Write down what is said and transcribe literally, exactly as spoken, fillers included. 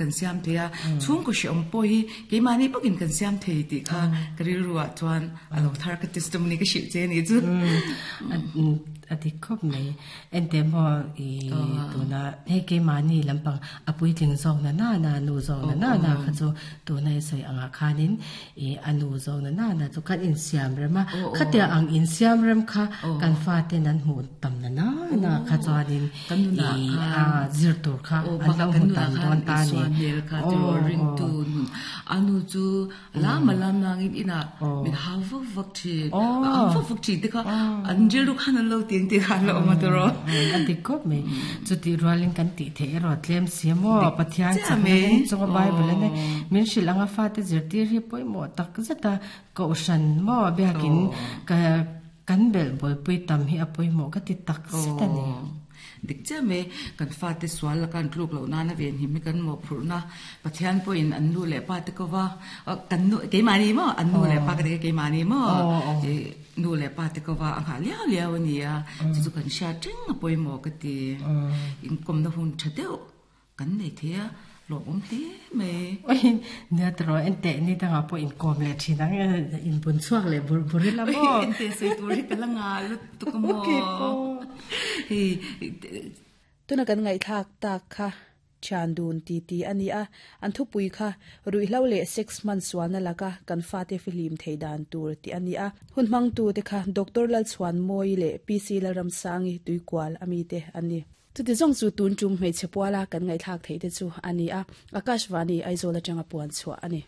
kan siam thei a chhungkaw hreawm pawh hi keimahni bawkin kan siam thei tih kha ka rilru ah chuan a lo thar ka testimony ka hrilh che a nih chu. A dik khawp mai. Ente maw i tuna hei keimahni lampang a puitling zawk na na na nu zawk na na na kha chu tuna i sawi angah khanin i a nu zawk na na na chu kan insiam rem a, khatia ang insiam rem kha kan faten an hmuh tam na na na kha chuanin i a zir tur kha an lo hmu tam dawn ta a ni. A nu chu lam a lam nangin inah min hau vak vak thin, a ang vak vak thin te kha an rilru khan an lo ti ang tih kha an lo awm a tawrh aw. A dik khawp mai. Chutih rualin kan tih theih erawh tlem si a maw? Pathian chakna ring chunga Bible ane min hrilh anga fate zirtir hi pawimawh tak zet a, kohhran maw biakin ka kan belh bawlpui tam hi a pawimawh ka ti tak zet a ni. Dik chiah mai, kan fate sual laka an tluk loh nana venhim hi kan mawhphurhna Pathian pawhin an nu leh pa te ko va, kan nu keimahni maw an nu leh pa ka ti kha keimahni maw nu leh pa te ko va a nghah liau liau a ni a, chu chu kan hriat reng a pawimawh ka ti. Inkawmna hun tha deuh kan nei thei a, lawmawm hle mai. Oi, nia tawrh enteh ni dangah pawh inkawm leh thin ang e, inbun chhuak leh bur bur ila maw? Oi, enteh sawi tur hi ka la ngah lutuk a maw? Hei, Tuna kan ngaihthlak tak kha thian dun ti ti a ni a, an thupui kha ruihhlo leh sex hman sualna laka kan fate fihlim thei dan tur tih a ni a. Hun hmangtute kha Doctor Lalchhuanmawii leh PC Lalramsangi Tuikual a mite an ni. Chuti zawng chu tun tum hmeichhe puala kan ngaihthlak theih te chu a ni a, Akashvani Aizawl atanga puan chhuah a ni.